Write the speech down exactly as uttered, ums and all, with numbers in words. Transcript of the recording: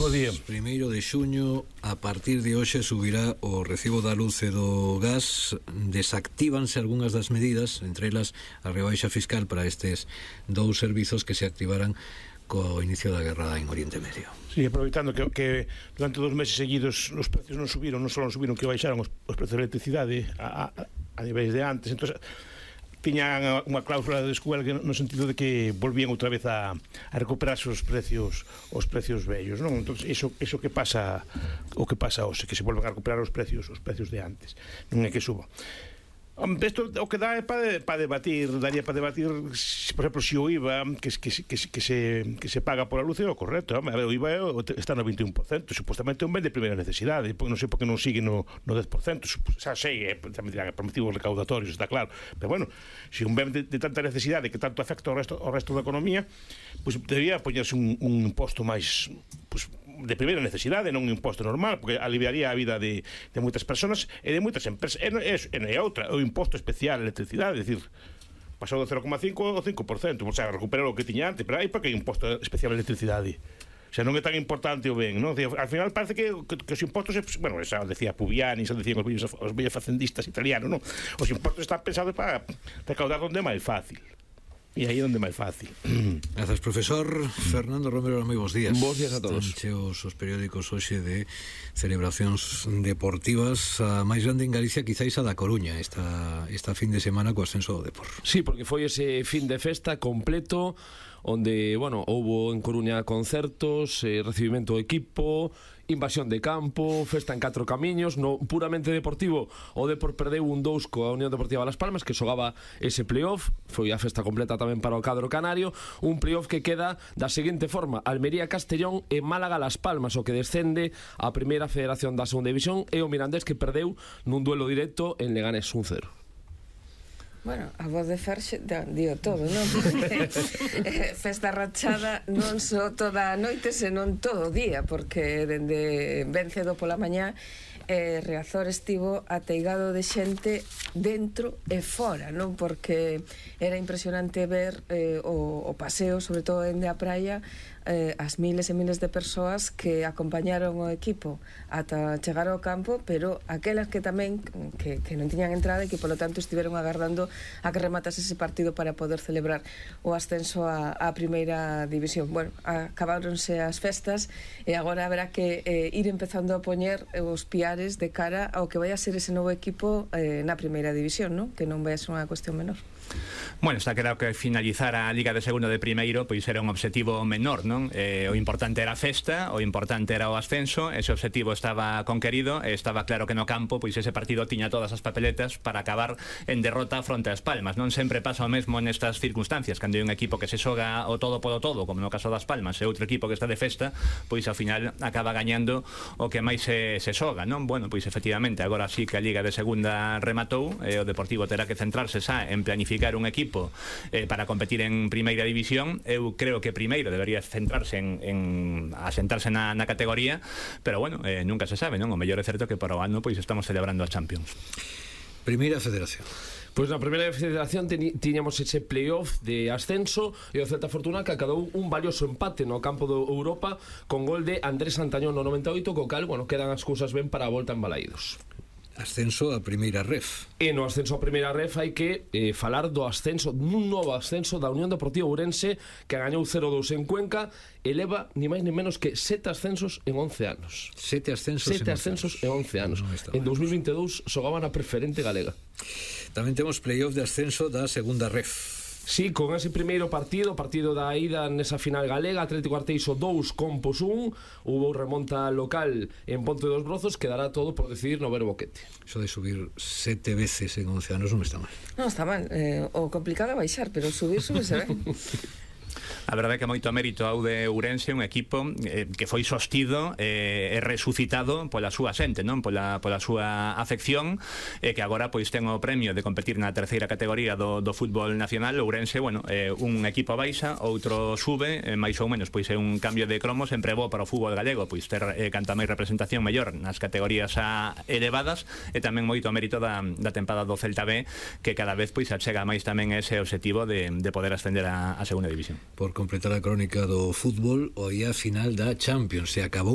Bo día. Primeiro de xuño, a partir de hoxe subirá o recibo da luz e do gas. Desactívanse algunhas das medidas, entre elas a rebaixa fiscal para estes dous servizos que se activaran co inicio da guerra en Oriente Medio. Sí, aproveitando que, que durante dos meses seguidos os precios non subiron, non só non subiron, que baixaron os, os precios de electricidade a, a, a niveis de antes. Entón, tiñan unha cláusula de descuelgue no sentido de que volvían outra vez a, a recuperarse os precios os precios vellos, non? Entón, iso, iso que pasa o que pasa hoxe, que se volven a recuperar os precios os precios de antes, non é que suba. Isto o que dá é para pa debatir, daría para debatir, por exemplo, se o I V A que, que, que, que, se, que se paga pola luz é o correcto. A ver, o I V A está no veintiún por cento, supostamente é un ben de primeira necesidade, non sei por que non sigue no, no dez por cento, xa sei, é, tamén dirán, por motivos recaudatorios, está claro, pero bueno, se un ben de, de tanta necesidade que tanto afecta ao resto, ao resto da economía, pois pues, debería poñerse un, un imposto máis, pues, de primeira necesidade, non un imposto normal, porque aliviaría a vida de, de moitas persoas e de moitas empresas. E, e, e outra, o imposto especial de electricidade, é dicir, pasou do cero coma cinco ao cinco por cento, o sea, recuperar o que tiña antes, pero aí para que hai imposto especial de electricidade? O sea, non é tan importante o ben, non? Al final parece que, que, que os impostos, bueno, xa decía Pubiani, xa decían os vellos, os vellos facendistas italianos, non? Os impostos están pensados para recaudar onde é máis fácil. E aí é onde é máis fácil. Grazas, profesor. Fernando Romero, moi bons días. Bons días a todos. Cheos os periódicos hoxe de celebracións deportivas. A máis grande en Galicia quizáis a da Coruña esta, esta fin de semana co ascenso do Depor. Sí, porque foi ese fin de festa completo onde, bueno, houbo en Coruña concertos, eh, recibimento do equipo, invasión de campo, festa en catro camiños. No puramente deportivo, o Depor perdeu un dous coa Unión Deportiva Las Palmas, que xogaba ese playoff. Foi a festa completa tamén para o cadro canario. Un playoff que queda da seguinte forma: Almería-Castellón e Málaga-Las Palmas, o que descende a primeira federación da segunda división, e o Mirandés, que perdeu nun duelo directo en Leganés un cero. Bueno, a voz de Ferxe dio todo, non? Porque eh, festa rachada non só toda a noite, senón todo o día, porque dende ben cedo pola mañá eh, Riazor estivo ateigado de xente dentro e fora, non? Porque era impresionante ver eh, o, o paseo, sobre todo dende a praia, eh, as miles e miles de persoas que acompañaron o equipo ata chegar ao campo, pero aquelas que tamén que, que non tiñan entrada e que polo tanto estiveron agardando a que rematase ese partido para poder celebrar o ascenso a, a primeira división. Bueno, acabáronse as festas e agora haberá que eh, ir empezando a poñer os piares de cara ao que vai a ser ese novo equipo eh, na primeira división, non? Que non vai a ser unha cuestión menor. Bueno, está claro que finalizar a Liga de Segundo de Primeiro pois era un objetivo menor, non? Eh, o importante era a festa, o importante era o ascenso. Ese objetivo estaba conquerido e estaba claro que no campo pois ese partido tiña todas as papeletas para acabar en derrota fronte ás Palmas. Non sempre pasa o mesmo nestas circunstancias, cando hai un equipo que se xoga o todo polo todo, como no caso das Palmas, e outro equipo que está de festa, pois ao final acaba gañando o que máis se, se xoga, non? Bueno, pois efectivamente, agora sí que a Liga de Segunda rematou, e o Deportivo terá que centrarse xa en planificar un equipo eh, para competir en primeira división. Eu creo que primeiro debería centrarse en, en asentarse na, na categoría, pero bueno, eh, nunca se sabe, non? O mellor é certo que para o ano pois estamos celebrando a Champions. Primeira Federación. Pois na primeira federación tiñamos ese playoff de ascenso e o Celta Fortuna que acadou un valioso empate no campo do Europa con gol de Andrés Santañón no noventa e oito, co cal, bueno, quedan as cousas ben para a volta en Balaídos. Ascenso a primeira ref. E no ascenso a primeira ref hai que eh, falar do ascenso, dun novo ascenso da Unión Deportiva Ourense, que gañou cero dous en Cuenca e leva ni máis ni menos que sete ascensos en once anos. Sete ascensos, sete ascensos en once anos. No, en dos mil vinte e dous xogaban a preferente galega. Tamén temos playoff de ascenso da segunda ref. Sí, con ese primeiro partido, partido da ida nesa final galega, Atlético Arteixo dous, Compos un, hubo remonta local en Ponte dos Brozos, quedará todo por decidir no Verbo Boquete. Eso de subir sete veces en once anos non está mal. Non está mal, eh, o complicado é baixar, pero subir, subir se ven. A verdade é que moito mérito ao de Ourense, un equipo eh, que foi sostido eh, e resucitado pola súa xente, non? Pola, pola súa afección, e eh, que agora pois ten o premio de competir na terceira categoría do, do fútbol nacional. Ourense, bueno, eh, un equipo baixa, outro sube, eh, máis ou menos pois é un cambio de cromo, sempre bo para o fútbol galego, pois ter eh, canta máis representación mellor nas categorías a elevadas, e tamén moito mérito da, da tempada do Celta B, que cada vez pois achega máis tamén ese objetivo de, de poder ascender a, a segunda división. Por completar a crónica do fútbol, o día final da Champions se acabou